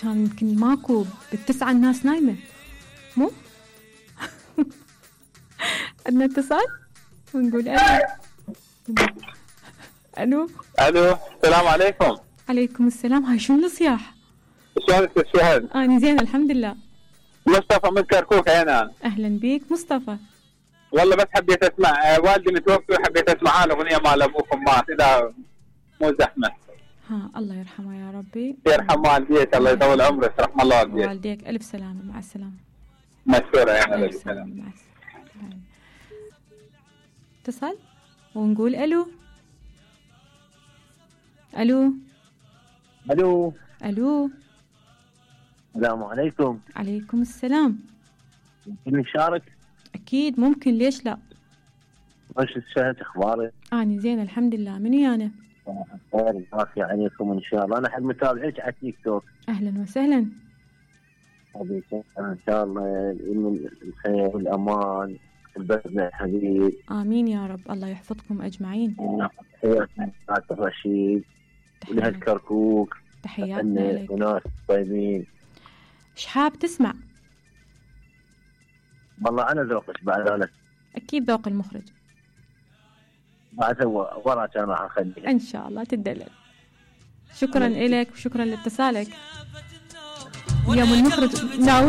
كان يمكن ماكو بالتسعة الناس نايمة مو؟ عندنا اتصال ونقول الو. الو السلام عليكم. عليكم السلام. هاي شنو الصياح؟ شلونك شهد؟ أنا زين الحمد لله. مصطفى من كركوك أنا. أهلا بيك مصطفى. والله بس حبيت أسمع والدي متوفي وحبيت أسمع الأغنية مال أبوكم مات إذا مو زحمة. ها الله يرحمه يا ربي. يرحم والديك الله يطول عمرك رحم الله والديك. والديك ألف سلامة مع السلامة. مشكورة يا ألف سلامة مع السلامة. اتصل ونقول ألو. ألو. ألو. ألو. السلام عليكم. عليكم السلام. ممكن نشارك؟ أكيد ممكن ليش لا. وش شهد أخبارك؟ أنا زين الحمد لله. من ويانا؟ خير وعافية عليكم إن شاء الله. أنا أحب متابعيك على التيك توك. أهلا وسهلا. حبيبي إن شاء الله من الخير والأمان بلدنا الحبيب. آمين يا رب. الله يحفظكم أجمعين. تحياتنا لعبد الرشيد ولأهل كركوك. تحياتنا لك. وناس طيبين. إيش حاب تسمع؟ والله أنا ذوقك بعد أنا. أكيد ذوق المخرج. بعد وراك أنا راح أخليها. إن شاء الله تدلل. شكرا لك وشكرا لاتصالك. يوم المخرج ناوي